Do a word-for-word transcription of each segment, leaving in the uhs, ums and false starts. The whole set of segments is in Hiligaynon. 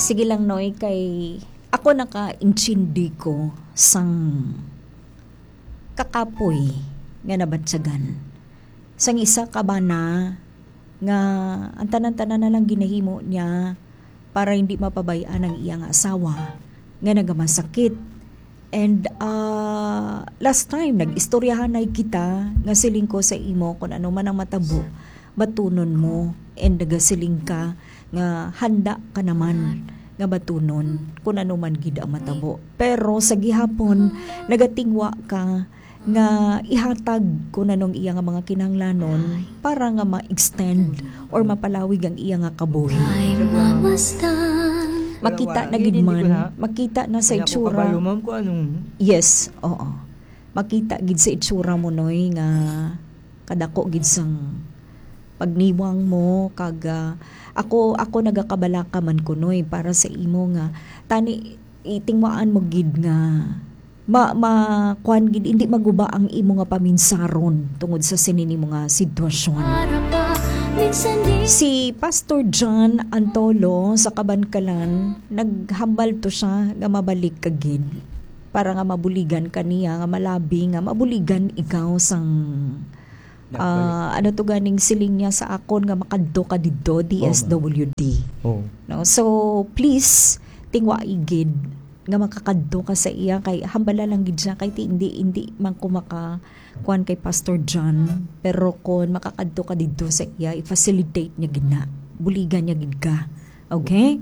Sige lang, Noy, kay ako nakaintindi ko sang kakapoy nga nabatyagan. Sang isa ka bana nga ang tanan-tanan na lang ginahimo niya para hindi mapabay-an ang iya nga asawa nga nagamasakit. And, ah, last time, nag-istoryahanay kita nga siling ko sa imo kung ano man ang matabo, batunon mo. And nagasiling ka nga handa ka naman nga batunon kung ano man gid ang matabo. Pero sa gihapon, nagatingwa ka nga ihatag kung anong iya nga mga kinahanglanon para nga ma-extend or mapalawig ang iya nga kabuhi. Makita na gid man, makita na sa itsura. Yes, oo. Makita gid sa itsura mo, Noy, nga kadako gid sang pagniwang mo, kag, ah, ako, ako nagakabalaka man ko, Noy, para sa imo nga tani itingwaan mo gid nga ma-, ma-, kuwan gid, hindi maguba ang imo nga paminsaron tungod sa sini nimo nga sitwasyon. Si Pastor John Antolo sa Kabankalan, naghambal to siya nga mabalik ka gid para nga mabuligan ka niya, nga malabi nga mabuligan ikaw sang, ah, ano to ganing siling niya sa akon nga makadto ka didto, D S W D. Oh. No? So, please, tingwa igid nga makakadto ka sa iya, kay hambala lang gid siya, kay ti-, hindi, hindi man ko maka kuan kay Pastor John, pero kon makakadto ka didto sa iya, i-facilitate niya gid na. Buligan niya gid ka. Okay?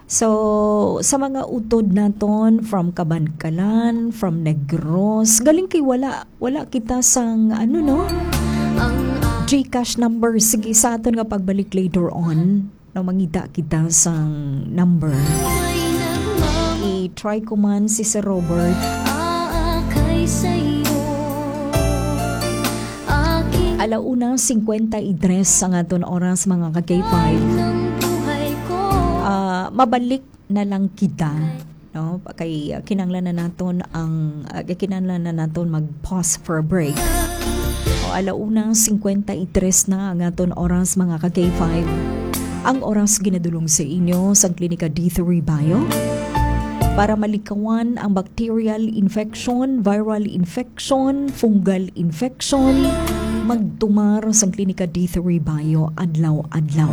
So, sa mga utod naton from Kabankalan, from Negros, galing kay wala, wala kita sang, ano, no? GCash number. Sige, sa aton nga pagbalik later on, no, mangita kita sang number. I-try ko man si Sir Robert. Alauna cincuenta y tres ang aton oras, mga ka-K five. Ah, mabalik na lang kita, no? Kay, ah, kinahanglan na naton ang, ah, kinahanglan na naton mag-pause for a break. O, alauna cincuenta y tres na ang aton oras, mga ka-K five. Ang oras ginadulong sa inyo sang Klinika D three Bio para malikawan ang bacterial infection, viral infection, fungal infection. Magtumar sang Klinika D three Bio adlaw-adlaw.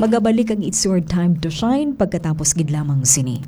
Magabalik ang It's Your Time to Shine pagkatapos gid lamang sini.